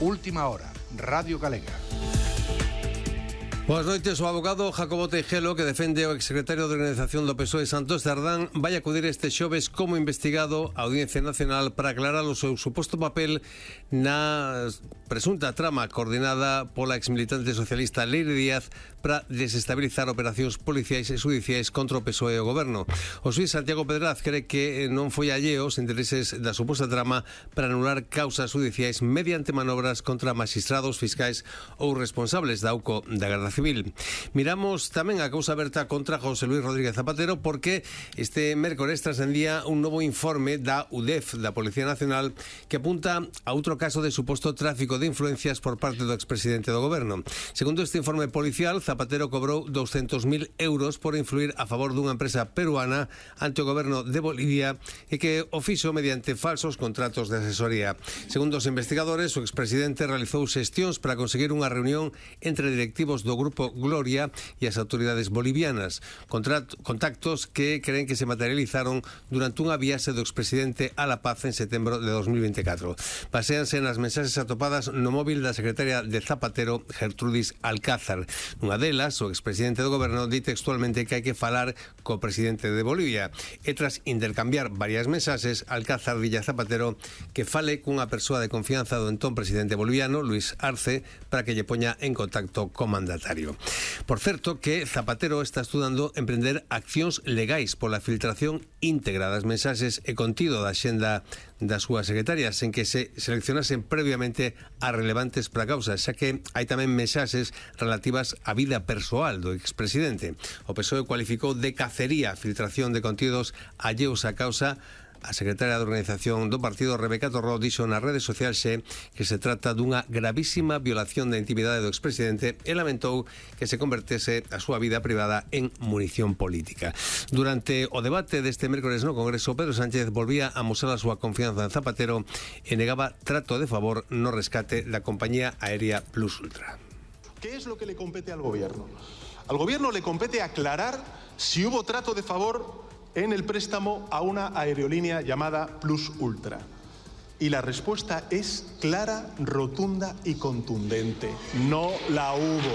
Última hora, Radio Galega. Boas noites. O abogado Jacobo Teijelo, que defende o exsecretario de Organización do PSOE Santos Cerdán, vai acudir este xoves como investigado á Audiencia Nacional para aclarar o seu suposto papel na presunta trama coordinada pola exmilitante socialista Leire Díaz para desestabilizar operacións policiais e judiciais contra o PSOE e o goberno. O xuiz Santiago Pedraz cree que non foi alleo os intereses da suposta trama para anular causas judiciais mediante manobras contra magistrados, fiscais ou responsables da AUCO da Garda Civil. Miramos tamén a causa aberta contra José Luis Rodríguez Zapatero porque este mércores trascendía un novo informe da UDEF, da Policía Nacional, que apunta a outro caso de suposto tráfico de influencias por parte do expresidente do goberno. Segundo este informe policial, Zapatero cobrou 200.000 euros por influir a favor dunha empresa peruana ante o goberno de Bolivia e que o fixo mediante falsos contratos de asesoría. Segundo os investigadores, o expresidente realizou xestións para conseguir unha reunión entre directivos do Grupo Gloria e as autoridades bolivianas, contactos que creen que se materializaron durante unha viaxe do expresidente a La Paz en setembro de 2024. Baséanse nas mensaxes atopadas no móvil da secretaria de Zapatero, Gertrudis Alcázar. Nunha delas, o expresidente do goberno di textualmente que hai que falar co presidente de Bolivia e tras intercambiar varias mensaxes, Alcázar dille a Zapatero que fale cunha persoa de confianza do entón presidente boliviano, Luis Arce, para que lle poña en contacto co mandatario. Por certo que Zapatero está estudando emprender accións legais pola filtración íntegra das mensaxes e contido da xenda das súas secretarias, en que se seleccionasen previamente as relevantes para a causa, xa que hai tamén mensaxes relativas á vida persoal do expresidente. O PSOE cualificou de cacería a filtración de contidos alleos á causa. A secretaria de Organización do partido, Rebeca Torró, dixo nas redes sociais que se trata dunha gravísima violación da intimidade do expresidente e lamentou que se convertese a súa vida privada en munición política. Durante o debate deste mércores no Congreso, Pedro Sánchez volvía a mostrar a súa confianza en Zapatero e negaba trato de favor no rescate da compañía aérea Plus Ultra. ¿Qué es lo que le compete al gobierno? Al gobierno le compete aclarar si hubo trato de favor en el préstamo a una aerolínea llamada Plus Ultra. Y la respuesta es clara, rotunda y contundente. No la hubo.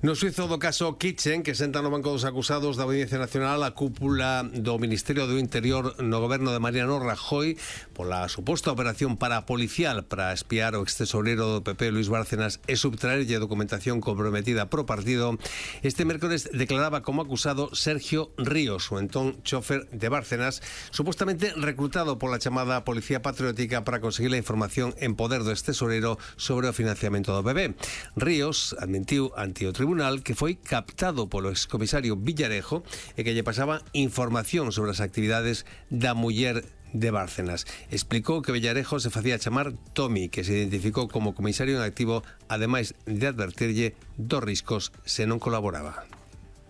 No xuizo do caso Kitchen, que senta no banco dos acusados da Audiencia Nacional a cúpula do Ministerio do Interior no goberno de Mariano Rajoy pola suposta operación parapolicial para espiar o extesoreiro do PP Luis Bárcenas e subtraerlle documentación comprometida pro partido, este mércores declaraba como acusado Sergio Ríos, o entón chofer de Bárcenas, supostamente reclutado pola chamada Policía Patriótica para conseguir a información en poder do extesoreiro sobre o financiamento do PP. Ríos admitiu ante o tribunal que foi captado polo excomisario Villarejo e que lle pasaba información sobre as actividades da muller de Bárcenas. Explicou que Villarejo se facía chamar Tommy, que se identificou como comisario en activo, ademais de advertirlle dos riscos se non colaboraba.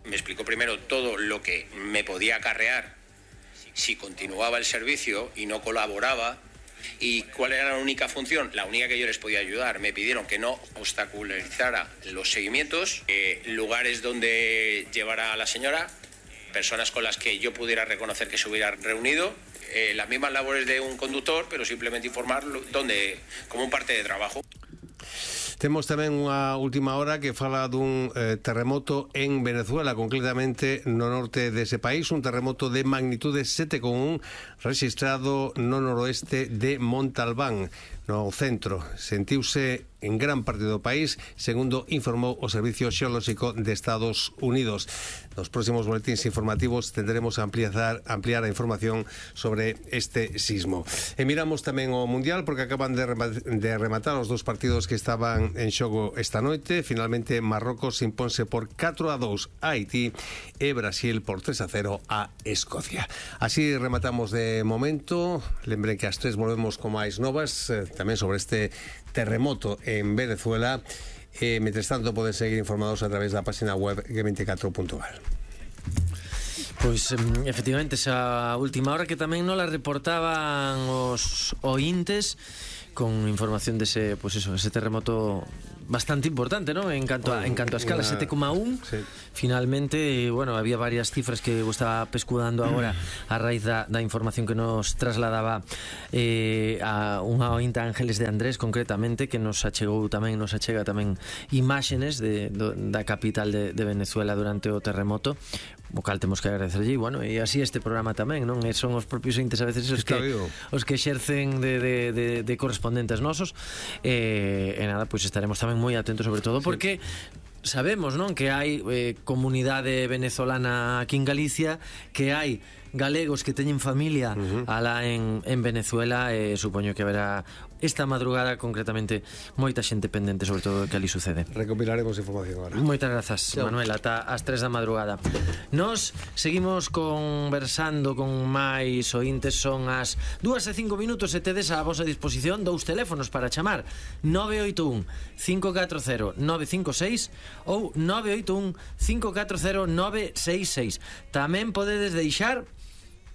Me explicó primero todo lo que me podía acarrear si continuaba el servicio y no colaboraba. ¿Y cuál era la única función? La única que yo les podía ayudar. Me pidieron que no obstaculizara los seguimientos, lugares donde llevara a la señora, personas con las que yo pudiera reconocer que se hubiera reunido, las mismas labores de un conductor, pero simplemente informar como un parte de trabajo. Temos tamén unha última hora que fala dun terremoto en Venezuela, concretamente no norte dese país, un terremoto de magnitude 7,1 registrado no noroeste de Montalbán, no centro. Sentiuse en gran parte do país, segundo informou o Servicio Xeolóxico de Estados Unidos. Nos próximos boletíns informativos tenderemos a ampliar a información sobre este sismo. E miramos tamén o Mundial, porque acaban de rematar os dos partidos que estaban en xogo esta noite. Finalmente Marrocos imponse por 4-2 a Haití e Brasil por 3-0 a Escocia. Así rematamos de momento. Lembren que ás 3 volvemos con máis novas, tamén sobre este terremoto en Venezuela. Mientras tanto poden seguir informados a través da página web g24.gal. Pois efectivamente esa última hora que tamén nos la reportaban os ointes con información dese, pois eso, ese terremoto bastante importante, ¿no? En canto a escala, 7,1. Sí. Finalmente, bueno, había varias cifras que eu estaba pescudando agora a raíz da información que nos trasladaba a unha ointa Ángeles de Andrés, concretamente, que nos achega tamén imágenes da capital de Venezuela durante o terremoto, o cal temos que agradecerlle. E bueno, e así este programa tamén, non? E son os propios ointes a veces os que exercen de correspondentes nosos, e nada, pois estaremos tamén moi atentos, sobre todo porque sabemos, non, que hai comunidade venezolana aquí en Galicia, que hai galegos que teñen familia alá en Venezuela, e supoño que haberá esta madrugada concretamente moita xente pendente sobre todo do que ali sucede. Recopilaremos información agora. Moitas grazas, Manuel, ata as 3 da madrugada. Nos seguimos conversando con máis ointes. Son as 2:05 e tedes a vosa disposición 2 teléfonos para chamar: 981 540 956 ou 981 540 966. Tamén podedes deixar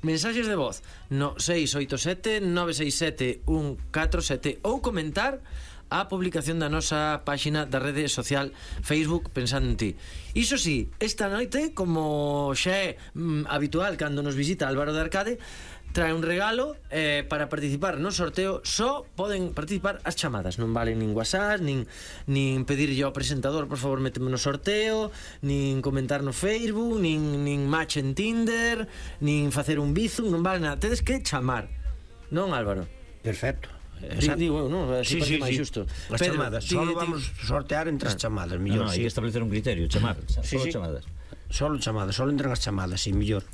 mensaxes de voz no 687 967 147 ou comentar a publicación da nosa páxina da rede social Facebook Pensando en Ti. Iso sí, esta noite, como xa é habitual cando nos visita Álvaro de Arcade, trae un regalo para participar no sorteo. Só poden participar as chamadas, non valen nin WhatsApp, nin pedirlle ao presentador por favor méteme no sorteo, nin comentar no Facebook, nin match en Tinder, nin facer un bizum, non vale nada, tedes que chamar, non, Álvaro? Perfecto. Digo, no, así sí, máis xusto. As chamadas, solo vamos sortear entre as chamadas, mellor. Hai que establecer un criterio, chamar, solo chamadas. Solo chamadas, solo entran as chamadas, si mellor.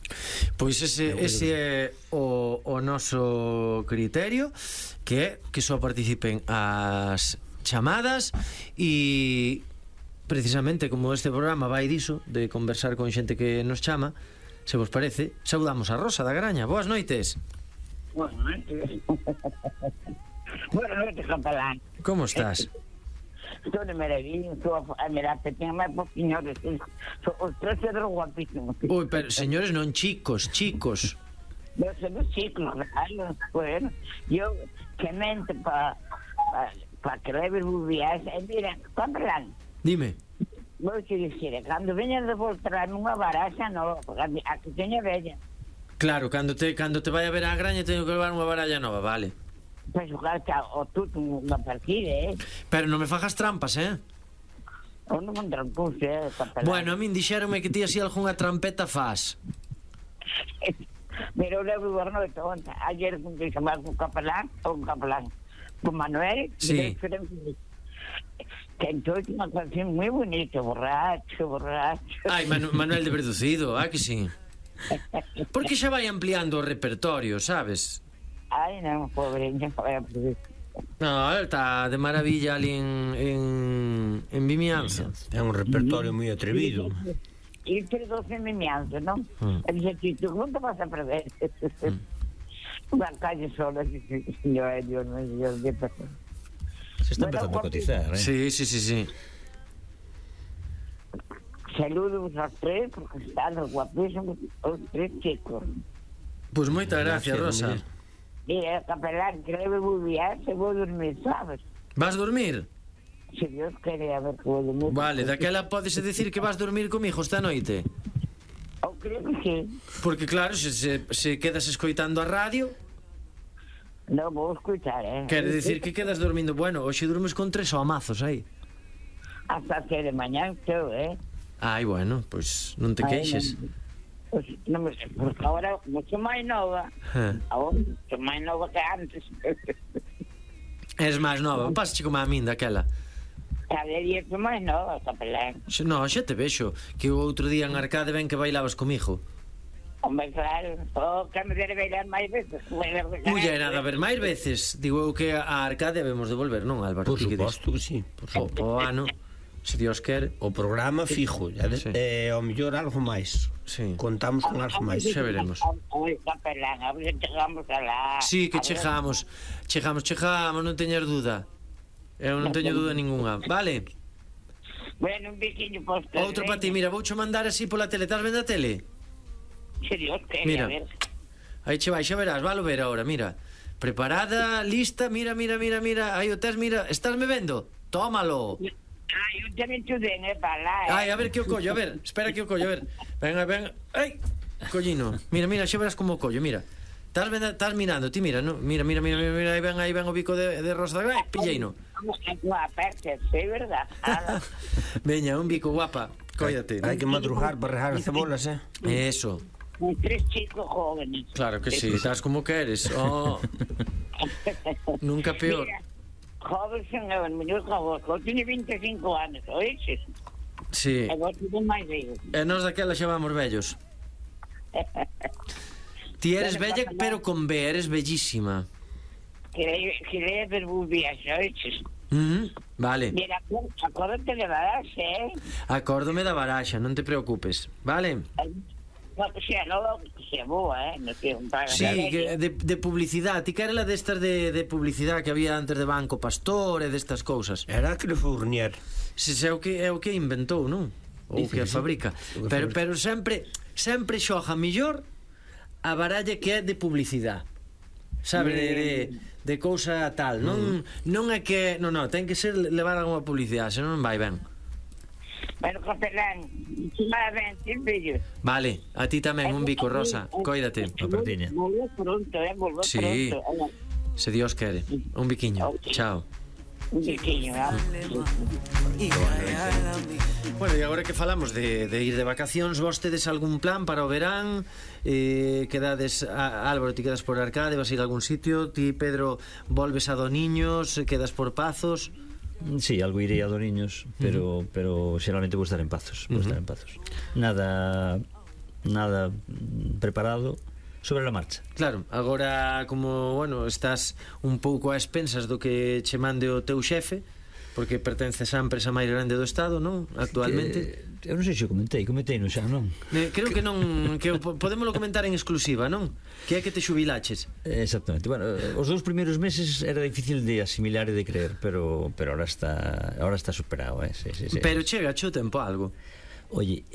Pois ese é o noso criterio, que só participen as chamadas. E precisamente como este programa vai diso, de conversar con xente que nos chama, se vos parece, saudamos a Rosa da Graña. Boas noites. Boas noites. Buenas noites, capelán. Como estás? Estou de maravilla, estou a mirar que ten máis poquinhos. Os tres cedros guapísimos. Ui, pero señores, non chicos. Eu sei dos chicos, claro. Bueno, eu que mente para creer bubias. E mira, capelán. Dime. Vou te dicir, cando veñas de voltar nunha baraxa nova, a que teña bella. Claro, cando te vai a ver a Graña teño que levar unha baralla nova, vale. Pois xogar o tuto unha partida, Pero non me fagas trampas, ou non me trampuse, capelán. Bueno, a min dixéronme que ti así algunha trampeta faz. Mira, eu levo boa noite onta. Ayer que chamar con capelán, con Manuel. Sí. Que entonces unha canción moi bonita, borracho. Ai, Manuel de Verducido, que sí. Porque xa vai ampliando o repertorio, sabes? Ai, non, pobreña, No, está de maravilla ali en Vimianzo. É un repertorio moi atrevido. E entre 12 Vimianzo, non? E dixe, Tito, non te vas a perder? Unha calle sola, señor, Dios mío, de persona. Se está empezando a cotizar, Sí. Saludos aos tres, porque están guapísimos os tres chicos. Pois moita gracias, Rosa. Mira, capelán, que leve bubiar, se vou dormir, sabes? Vas dormir? Se Dios quere, a ver que vou dormir. Vale, daquela podes decir que vas dormir comigo esta noite? Eu creo que sí. Porque claro, se quedas escoitando a radio, non vou escuchar, quere decir que quedas dormindo. Bueno, hoxe durmes con 3 amazos aí. Hasta que de mañá estou, Ai, bueno, pois non te queixes. Pues, non me sei, porque agora mucho máis nova. Agora mucho máis nova que antes. Eres máis nova, pasache como a min daquela. Cada día que máis nova, capelán. No, xa te vexo, que o outro día en Arcade ben que bailabas comigo. Hombre, claro, que me debe bailar máis veces. Mullerada, a ver, máis veces. Digo eu que a Arcade debemos de volver, non, Álvaro? Por suposto que sí. O ano, se Dios quere. O programa fijo, ao mellor algo máis. Sí. Contamos con algo máis. Xa veremos. Oi, capelán, a ver, chegamos alá. Sí, que chegamos, non teñas duda. Eu non teño duda ninguna. Vale? Bueno, un biquiño posto. Outro para ti, mira, voucho mandar así pola tele. Estás vendo a tele? Se Dios quere, mira, a ver. Aí che vai, xa verás, valo ver ahora, mira. Preparada, lista, mira. Aí o tes, mira, estás me vendo? Tómalo. Eu tamén te den, para lá, Ai, a ver que o collo, a ver, espera que o collo, a ver. Venga. Ai, collino. Mira, xa verás como o collo, mira. Estás mirando, ti mira, no? Mira, aí ven o bico de Rosa. Ai, pilleino. Guapa, é verdad. Veña, un bico guapa. Cóllate. Hai que madrugar para rejar as cebolas, Eso. 3 chicos jóvenes. Claro que sí, estás como queres. Oh. Nunca peor. Mira, jóvenes son os mellor que vos. Eu teño 25 anos, oíches? Sí. E vos teño máis vellos. E nós daquela xa vamos vellos. Ti eres bella, pero con B, eres bellísima. Quería ver vos viaxe, oíches? Vale. Mira, acórdate de Baraxe, Acórdome da baraxa, non te preocupes. Vale? Xa, non se boa, non sei un paga. Sí, de publicidade. Ti que era la destas de publicidade que había antes de Banco Pastor e destas cousas. Era que le Fournier. Se é o que inventou, non? Ou que fabrica. Pero sempre xoja millor a baralla que é de publicidade. Sabe, de cousa tal. Non é que... Non, ten que ser levar algunha publicidade, senón non vai ben. Bueno, Capelán, ben, fillo. Vale, a ti tamén, un bico, Rosa. Cóidate. Volvo pronto, volvo Sí, pronto. se Dios quere. Un biquiño. Chao. Un biquiño, Bueno, e agora que falamos de ir de vacacións, vos tedes algún plan para o verán? Quedades, Álvaro, ti quedas por Arcade, vas a ir a algún sitio? Ti, Pedro, volves a Doniños, quedas por Pazos? Sí, algo irei a Doniños, pero xeralmente vou estar en Pazos, Nada preparado, sobre a marcha. Claro, agora como, bueno, estás un pouco a expensas do que che mande o teu xefe, porque pertences á empresa máis grande do Estado, non? Actualmente. Eu non sei se comentei no xa, non? Creo que non, que podémoslo comentar en exclusiva, non? Que é que te xubilaches. Exactamente. Bueno, os 2 primeiros meses era difícil de asimilar e de creer, pero ahora está superado, sí. Pero chega o tempo algo. Oye,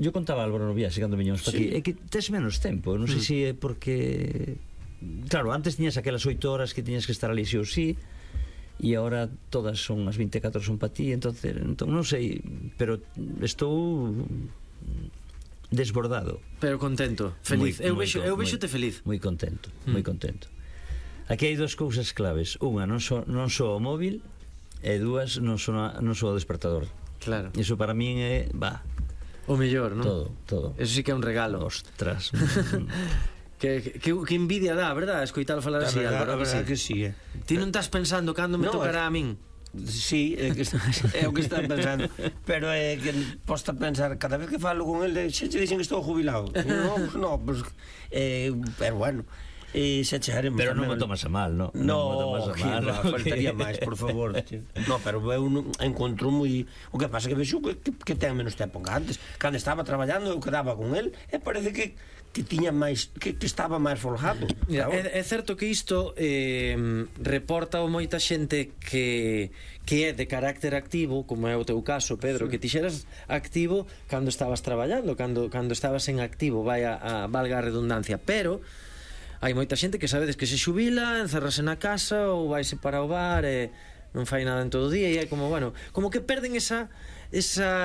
yo contaba Álvaro no viaxe cando viñamos para aquí, é que tes menos tempo, non sei se é porque... Claro, antes tiñas aquelas 8 horas que tiñas que estar ali sí ou sí, e agora todas son as 24 son para ti, entón non sei, pero estou desbordado. Pero contento, feliz. Eu vexote feliz. Moi contento, moi contento. Aquí hai 2 cousas claves. Unha, non só o móvil, e 2, non só o despertador. Claro. Iso para min é, o mellor, non? Todo. Eso sí que é un regalo. Ostras. Que envidia dá, verdad? Escoitalo falar así, Álvaro. A verdade que sí, Ti non estás pensando cando me tocará a min? Sí, é o que está pensando. Pero é que posta pensar, cada vez que falo con el, xa te dicen que estou jubilado. No, pues, pero bueno, se chegaremos. Pero non me tomas a mal, non? No, faltaría máis, por favor. No, pero eu encontro moi... O que pasa é que vexo que ten menos tempo que antes. Cando estaba traballando, eu quedaba con el e parece que tiña máis, que estaba máis folgado. É certo que isto reporta moita xente que é de carácter activo, como é o teu caso, Pedro, que ti xeras activo cando estabas traballando, cando estabas en activo, valga a redundancia, pero hai moita xente que sabedes que se xubila, encerrase na casa ou vaise para o bar e non fai nada en todo o día, e é como, bueno, como que perden esa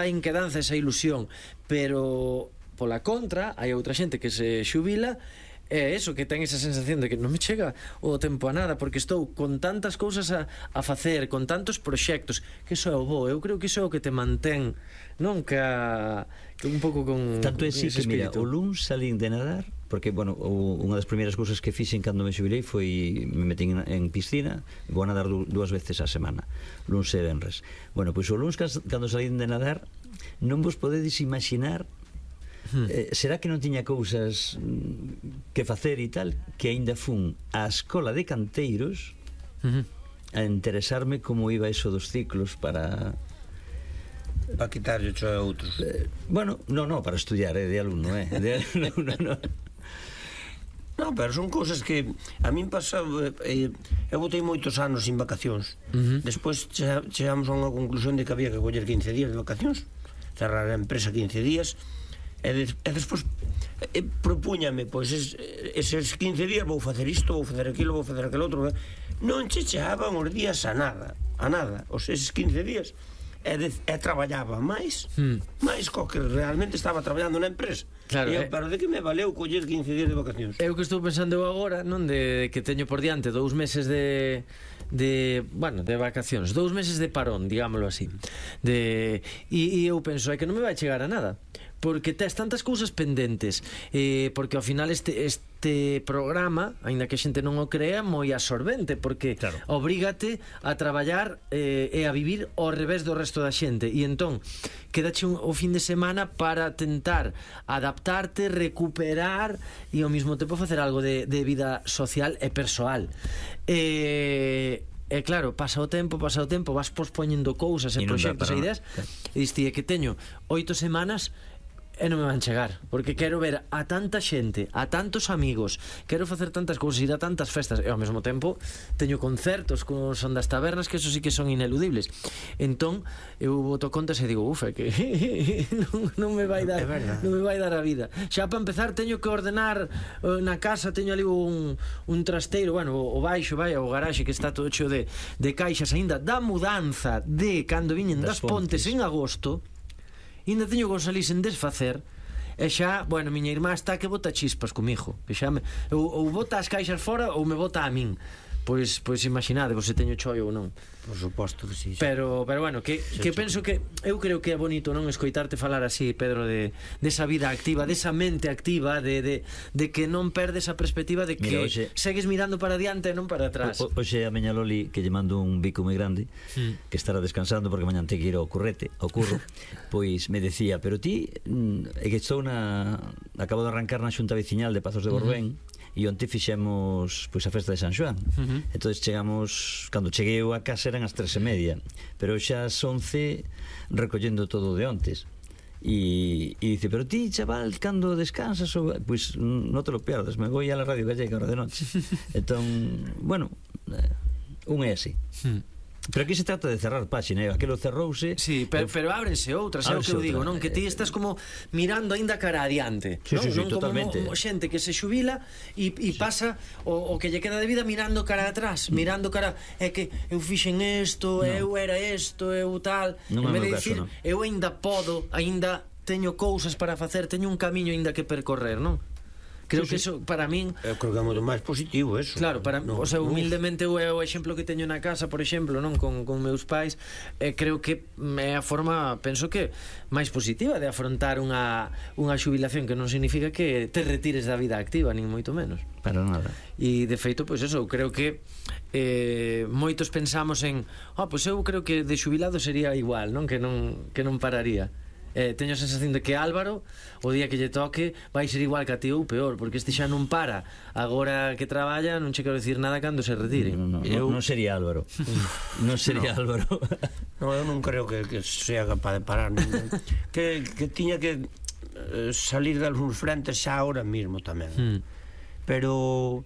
inquedanza, esa ilusión. Pero pola contra, hai outra xente que se xubila e eso, que ten esa sensación de que non me chega o tempo a nada, porque estou con tantas cousas a facer, con tantos proxectos, que iso é o bo. Eu creo que iso é o que te mantén, non? Que un pouco con tanto é así que, mira, o luns salín de nadar, porque, bueno, unha das primeiras cousas que fixen cando me xubilei foi me metín en piscina, vou a nadar 2 veces á semana, luns e venres. Bueno, pois o luns cando salín de nadar, non vos podedes imaginar será que non tiña cousas que facer e tal, que aínda fun á escola de canteiros a interesarme como iba eso dos ciclos para quitarlle cho a outros. Bueno, non, para estudiar, de alumno, de alumno, non. Non, pero son cousas que a min pasa, eu botei moitos anos sin vacacións. Despois chegamos a unha conclusión de que había que coller 15 días de vacacións, cerrar a empresa 15 días. E despois propúñame, pois eses 15 días vou facer isto, vou facer aquilo, vou facer aquel outro. Non che chegaban os días a nada, eses 15 días. e traballaba máis co que realmente estaba traballando na empresa. Claro, pero de que me valeu coller 15 días de vacacións? É o que estou pensando eu agora, non, de que teño por diante 2 meses de vacacións, 2 meses de parón, digámoslo así. E eu penso, é que non me vai chegar a nada, porque tes tantas cousas pendentes, porque ao final este programa, aínda que a xente non o crea, é moi absorbente, porque obrígate a traballar e a vivir ao revés do resto da xente, e entón quedache o fin de semana para tentar adaptarte, recuperar e ao mesmo tempo facer algo de vida social e persoal. E claro, pasa o tempo, vas pospoñendo cousas e proxectos e ideas, e diste que teño 8 semanas e non me van chegar, porque quero ver a tanta xente, a tantos amigos, quero facer tantas cousas, ir a tantas festas, e ao mesmo tempo teño concertos con Son das Tabernas, que eso sí que son ineludibles. Entón eu boto contas e digo, ufa, que non me vai dar a vida. Xa para empezar teño que ordenar na casa, teño ali un trasteiro, bueno, o baixo, vai, o garaxe que está todo cheo de caixas aínda da mudanza de cando viñen das Pontes en agosto. Ainda teño que salir sen desfacer. E xa, bueno, miña irmá está que bota chispas comigo, que xa ou bota as caixas fora ou me bota a min. Pois imaginade, se teño choio ou non. Por suposto que sí. Pero bueno, que penso que eu creo que é bonito non escoitarte falar así, Pedro, de esa vida activa, desa mente activa, de que non perdes a perspectiva de que segues mirando para diante e non para atrás. Hoxe a miña Loli, que lle mando un bico moi grande, que estará descansando porque mañan te que ir ao curro, pois me decía, pero ti é que estou acabo de arrancar na Xunta Veciñal de Pazos de Borbén, e onte fixemos pois a festa de San Xoán. Entonces chegamos, cando cheguei eu a casa eran as 3:30, pero xa as 11 recollendo todo de ontes. E dice, pero ti, chaval, cando descansas? Pois non te lo pierdas, me voy a la Radio Gallega ahora de noche. Entón, bueno, un é así. Pero aquí se trata de cerrar páxina, aquilo cerrouse. Sí, pero ábrense outras, é o que eu digo, non? Que ti estás como mirando aínda cara adiante, non? Sí, totalmente. Como xente que se xubila e pasa o que lle queda de vida mirando cara atrás, mirando cara, é que eu fixen isto, eu era isto, eu tal. En vez de dicir, eu aínda podo, aínda teño cousas para facer, teño un camiño aínda que percorrer, non? Creo que eso, para min... Eu creo que é moito máis positivo, eso. Claro, o sea, humildemente é o exemplo que teño na casa, por exemplo, non, con meus pais, creo que é a forma, penso que máis positiva de afrontar unha xubilación, que non significa que te retires da vida activa, nin moito menos. Para nada. E de feito, pois eso, creo que moitos pensamos en, pois eu creo que de xubilado sería igual, non, que non pararía. Teño a sensación de que Álvaro, o día que lle toque, vai ser igual que a ti ou peor, porque este xa non para. Agora que traballa, non che quero dicir nada cando se retire. Non sería Álvaro. Non sería Álvaro. Non, eu non creo que sea capaz de parar. Que tiña que salir de algúns frentes xa ahora mismo tamén. Pero...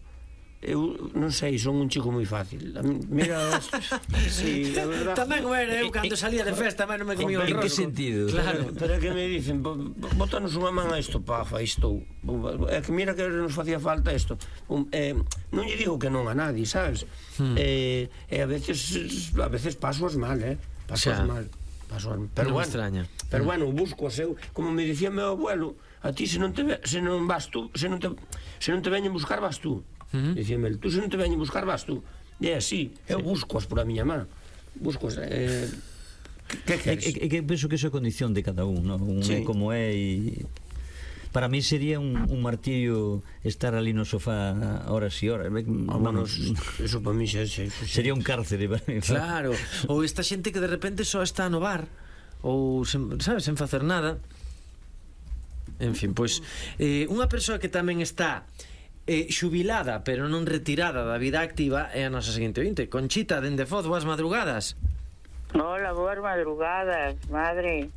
eu non sei, son un chico moi fácil. Mira, sí, a verdad. Tamén era eu cando salía de festa, non me comía o rosco. En que sentido? Claro. Pero é que me dicen, botanos unha man a isto, pafa, isto. É que mira que nos facía falta isto. Non lle digo que non a nadie, sabes? E a veces paso as mal, paso as mal. Pero bueno, extraña. Pero bueno, busco o seu, como me dicía meu abuelo, a ti se non te veñen buscar vas tú. Dicíame, tú se non te veñen buscar vas tú. E é así, eu busco-as por a miña má. Busco-as. Que queres? É que penso que iso é condición de cada un, non? Un é como é e... Para mí sería un martirio estar ali no sofá horas e horas. Eso para mí xa sería un cárcere para mí. Claro, ou esta xente que de repente só está no bar, ou, sabes, sen facer nada. En fin, pois unha persoa que tamén está xubilada, pero non retirada da vida activa, é a nosa seguinte ointe. Conchita, dende Foz, boas madrugadas. Hola, boas madrugadas, madre.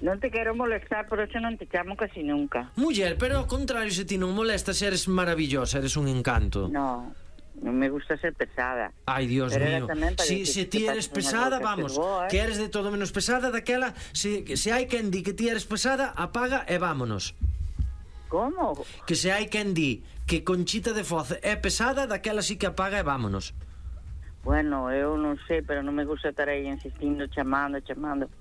Non te quero molestar, por eso non te chamo casi nunca. Muller, pero ao contrario, se ti non molestas, eres maravillosa, eres un encanto. No, non me gusta ser pesada. Ai, Dios mío. Se ti eres pesada, vamos, que eres de todo menos pesada, daquela, se hai quen di que ti eres pesada, apaga e vámonos. Como? Que se hai quen di que Conchita de Foz é pesada, daquela sí que apaga e vámonos. Bueno, eu non sei, pero non me gusta estar aí insistindo, chamando.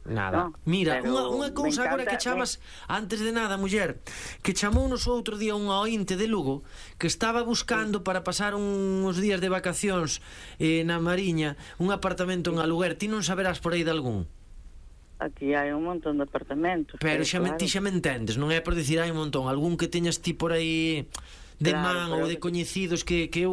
Nada. No, Mira, pero unha cousa me agora que encanta, chamas, antes de nada, muller, que chamounos outro día unha ointe de Lugo que estaba buscando para pasar uns días de vacacións na Mariña un apartamento en aluguer. Ti non saberás por aí de algún? Aquí hai un montón de apartamentos. Pero claro. ti xa me entendes, non é por dicir hai un montón, algún que teñas ti por aí de Claro, man ou pero de coñecidos que eu